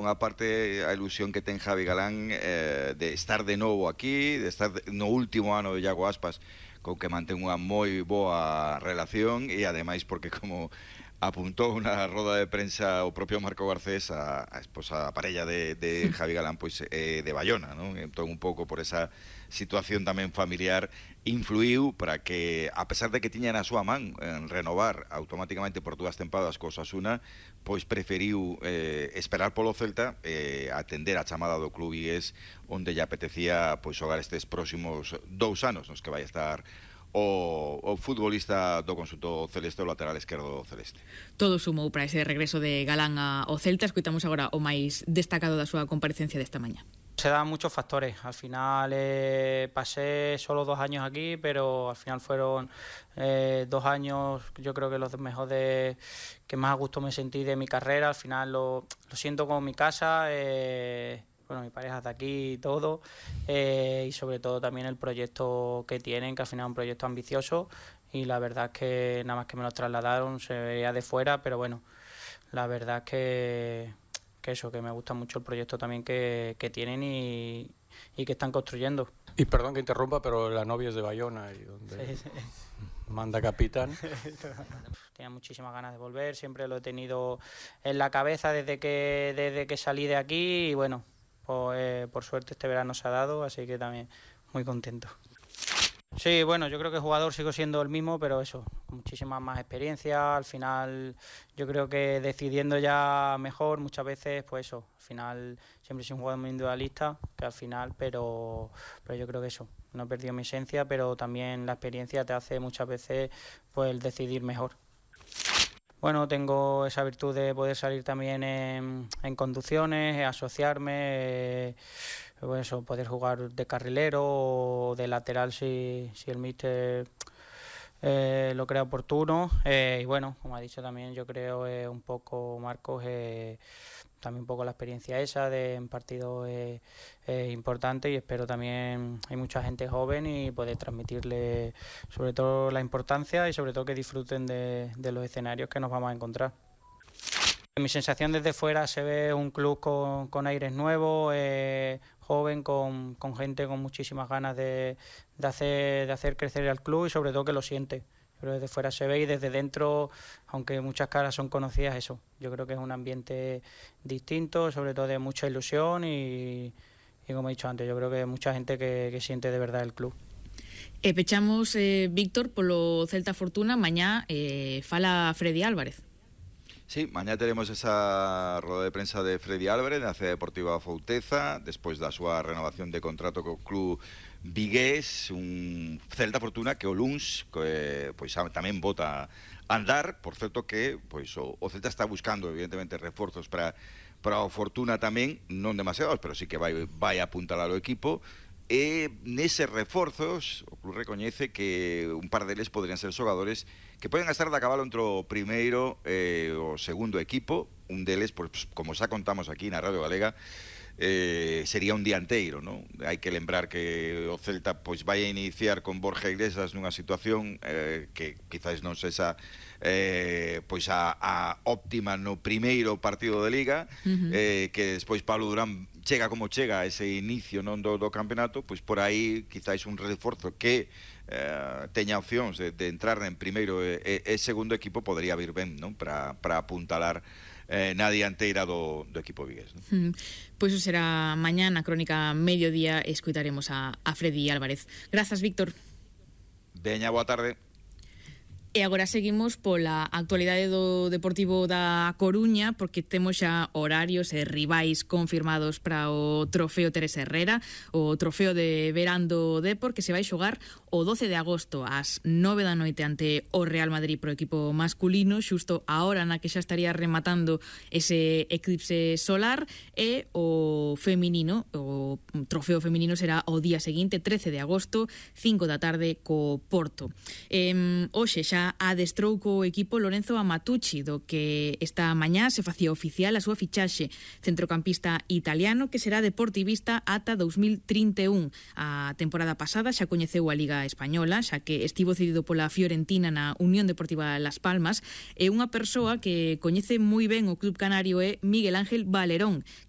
Unha parte a ilusión que ten Javi Galán de estar de novo aquí, de estar no último ano de Iago Aspas, con que mantén unha moi boa relación, e ademais porque, como apuntou na roda de prensa o propio Marco Garcés, a esposa, a parella de Javi Galán, pois de Bayona, non? Entón, un pouco por esa situación tamén familiar, influiu para que, a pesar de que tiña na súa man renovar automáticamente por 2 tempadas co Osasuna, pois preferiu esperar polo Celta, atender a chamada do club vigués, onde lle apetecía pois xogar estes próximos 2 anos nos que vai estar o futbolista do conxunto celeste, o lateral esquerdo celeste. Todo sumou para ese regreso de Galán ao Celta. Escoitamos agora o máis destacado da súa comparecencia desta mañá. Se dan muchos factores. Al final pasé solo 2 años aquí, pero al final fueron 2 años, yo creo que los mejores, que más a gusto me sentí de mi carrera. Al final lo siento como mi casa. Bueno, mi pareja está aquí y todo, y sobre todo también el proyecto que tienen, que al final es un proyecto ambicioso, y la verdad es que nada más que me lo trasladaron, se veía de fuera, pero bueno, la verdad es que eso, que me gusta mucho el proyecto también que tienen y que están construyendo. Y perdón que interrumpa, pero la novia es de Bayona, y donde sí. Manda capitán. Tenía muchísimas ganas de volver, siempre lo he tenido en la cabeza desde que salí de aquí, y bueno, por suerte este verano se ha dado, así que también muy contento. Sí, bueno, yo creo que jugador sigo siendo el mismo, pero eso, muchísima más experiencia. Al final yo creo que decidiendo ya mejor muchas veces, pues eso, al final siempre soy un jugador muy individualista, que al final, pero yo creo que eso, no he perdido mi esencia, pero también la experiencia te hace muchas veces pues el decidir mejor. Bueno, tengo esa virtud de poder salir también en conducciones, asociarme, bueno, eso, poder jugar de carrilero o de lateral si el míster lo crea oportuno. Y bueno, como ha dicho también, yo creo un poco Marcos, también un poco la experiencia esa de en partidos importantes, y espero también hay mucha gente joven y poder transmitirle sobre todo la importancia y sobre todo que disfruten de los escenarios que nos vamos a encontrar. Mi sensación desde fuera se ve un club con aires nuevos, joven, con gente con muchísimas ganas de hacer crecer al club, y sobre todo que lo siente. Pero desde fuera se ve, y desde dentro, aunque muchas caras son conocidas, eso. Yo creo que es un ambiente distinto, sobre todo de mucha ilusión, y como he dicho antes, yo creo que hay mucha gente que siente de verdad el club. Pechamos, Víctor, polo Celta Fortuna. Mañá fala Freddy Álvarez. Sí, mañá teremos esa roda de prensa de Freddy Álvarez na Cidade Deportiva Fouteza, despois da súa renovación de contrato co club vigués, un Celta Fortuna que o luns pois tamén bota a andar. Por certo que pois o Celta está buscando evidentemente reforzos para o Fortuna tamén, non demasiados, pero sí que vai apuntalar o equipo. E neses reforzos o club recoñece que un par deles podrían ser xogadores que poden estar de a cabalo entre o primeiro e o segundo equipo. Un deles, pois, como xa contamos aquí na Radio Galega, sería un dianteiro, non? Hai que lembrar que o Celta pois vai a iniciar con Borja Iglesias nunha situación que quizás non sexa pois a óptima no primeiro partido de Liga, que despois Pablo Durán chega como chega a ese inicio non do campeonato, pois por aí quizás un reforzo que teña opcións de entrar en primeiro e segundo equipo podría vir ben, non? Para apuntalar na dianteira do equipo vigués, non? Pois iso será mañá na crónica mediodía, escutaremos a Freddy Álvarez. Grazas, Víctor. Veña, boa tarde. E agora seguimos pola actualidade do Deportivo da Coruña, porque temos xa horarios e rivais confirmados para o trofeo Teresa Herrera, o trofeo de verán do Depor, que se vai xogar o 12 de agosto ás 9 da noite ante o Real Madrid pro equipo masculino, xusto a hora na que xa estaría rematando ese eclipse solar. E o feminino, o trofeo feminino será o día seguinte, 13 de agosto, 5 da tarde, co Porto. Hoxe xa adestrou co equipo Lorenzo Amatucci, do que esta mañá se facía oficial a súa fichaxe, centrocampista italiano que será deportivista ata 2031. A temporada pasada xa coñeceu a Liga Española, xa que estivo cedido pola Fiorentina na Unión Deportiva Las Palmas, e unha persoa que coñece moi ben o club canario é Miguel Ángel Valerón, que